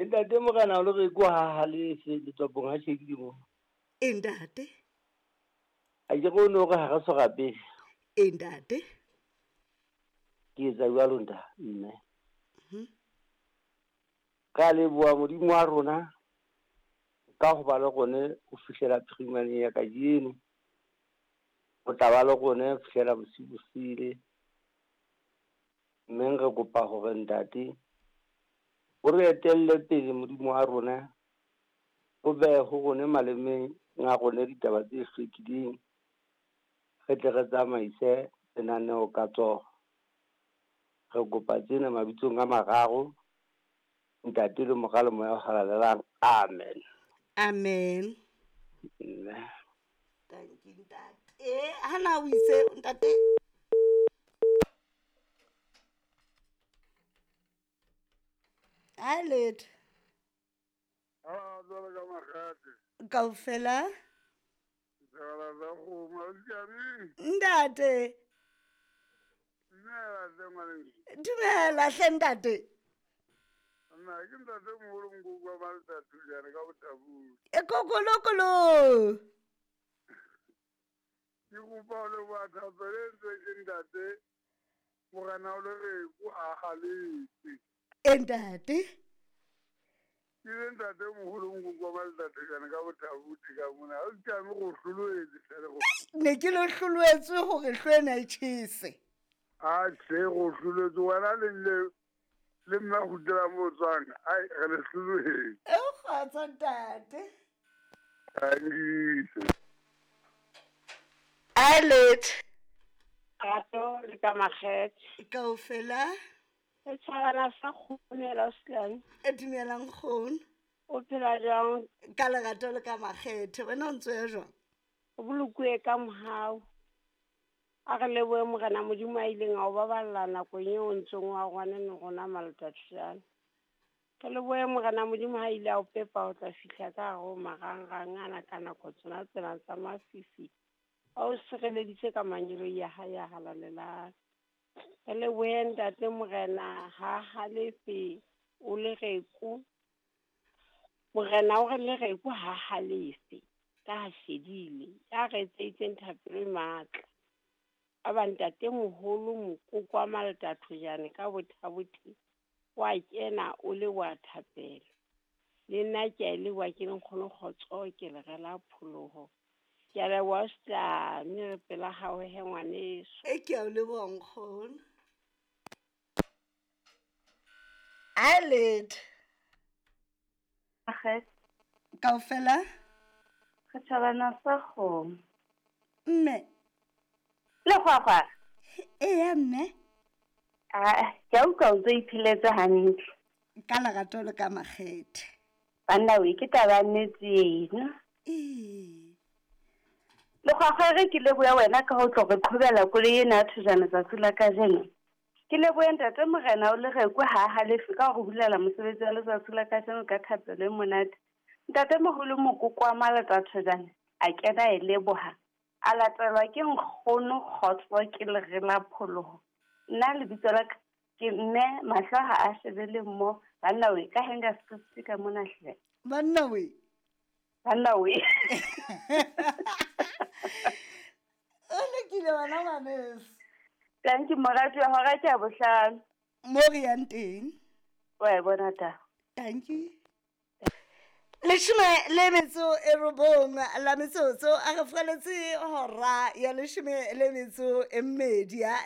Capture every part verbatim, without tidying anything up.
Ntate Morena o le re ko ha halefe letswapong ha shekile mo. E ntate. A ke re o no re ha re so rapele. E ntate. Ke etsa jwalo nta mme. Ka leboha Modimo wa rona ka ho ba le rone ho fihlela phirimaneng ya kajeno. O tla ba le rone ho fihlela bosiu bo sile. Mme re kopa hore ntate o re etelle pele Modimo wa rona, o behe ho rone malemeng a rone ditaba tse hlwekileng, re tle re tsamaise lenaneo ka tsoho. Re kopa tsena mabitsong a mararo, Ntate le Mora le Moya o Halalelang. Amen. Amen. Mme. Thank you ntate. Hana o itse ntate. Hi Let. Ah, jwalo ka makgate. Kaofela? Jwalo ka kgomo, ausi. Ntate. Dumela hle ngwaneso. Dumela hle ntate. Nna ke ntate moholo Mokoko wa Maletathujane ka Botabong. E kokolokolo. Ke kopa ho leboha thapelo e entsweng ke ntate Morena o le reko a haletse. E ntate. Ke le ntate moholo Mokoko wa Maletathujane ka Botabong ka mona. Ha o tjame go hloloetse hle go. Ne ke lo hloloetswe hore hlwena e tjhese. A tjhe go hloloetse wena le le le nna go dira mo tswang. Ai re le hloloetse. E kgotsa ntate. Thank you. Alet. Rato le ka makgethe. Kaofela. E tshwana sa kgonela Auslane. E dumelang kgono. O phela jwang? Ka lerato le ka makgethe. Wena o ntse o ya jwang? O bolokuwe ka mohau. A re lebohe Morena Modimo a ileng a o baballa nakong eo o ntseng wa rwane le rona Maletathujane. Re lebohe Morena Modimo ha ile a o pepa o tla fihla ka hare ho marangrang ana ka nako tsona tsena tsa mafifi. A o sireleditse ka mangeloi a hae a halalelang. Re lebohe ntate Morena ha halefe o le reko. Morena o re le reko ha halefe ka ha shedile. Ya re etseditseng thapelo e matla. A ba ntate moholo Mokoko wa Maletathujane ka Bothabothe wa kena o le wa thapelo. Le nna ke a leboha ke le nkgono kgotso ke le rela pholoho. Ke a leboha Auslane re pela hao he ngwaneso. E ke a o leboha nkgono. Alet. Akhe. Kaofela? Re thabana sa kgomo. Mme. Le kgwakgwa. Eya mme. Ah, ke a utlwa o ntso ipheletse hantle. Ka lerato le ka makgethe. Banna we ke taba ya nnete ena. Ee. Le kgwakgwa re ke leboha wena ka ho tlo re qhobela koloi ena ya Thojana tsatsi la kajeno. Ke lebohe ntate Morena o le rekwe ha halefe ka ho re bulela mosebetsi wa letsatsi la kajeno ka thapelo e monate. Ntate moholo Mokoko wa Maletathujane a kena e leboha. A latelwa ke nkgono kgotso ke lere la pholoho. Nna lebitso la ka ke mme mahlo ha a shebele mo banna we ka henga script ka mona hle. Banna we. Banna we. O lokile wena ngwaneso. Thank you morati wa hora ke a bohlano. Mo re yang teng. Wa e bona ta. Thank you. Leshome le metso e robong la metsotso a re fgaletse hora ya leshome le metso e mmedi ya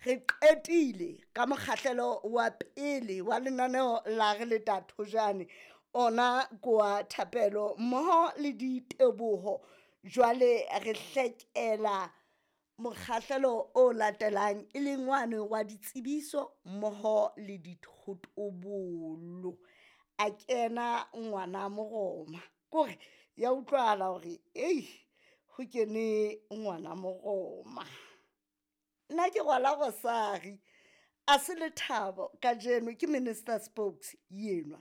re qetile ka mokgahlelo wa pele wa lenaneo la re le Tathojane ona kwa thapelo mmoho le diteboho. Jwale re hlekela mokgahlelo o latelang e leng wane wa ditsebiso mmoho le dithotobolo. A kena ngwana Moroma kore ya utlwahala hore ei ho kene ngwana Moroma. Nna ke rwala rosari a se lethabo kajeno ke Minister Spokes yenwa.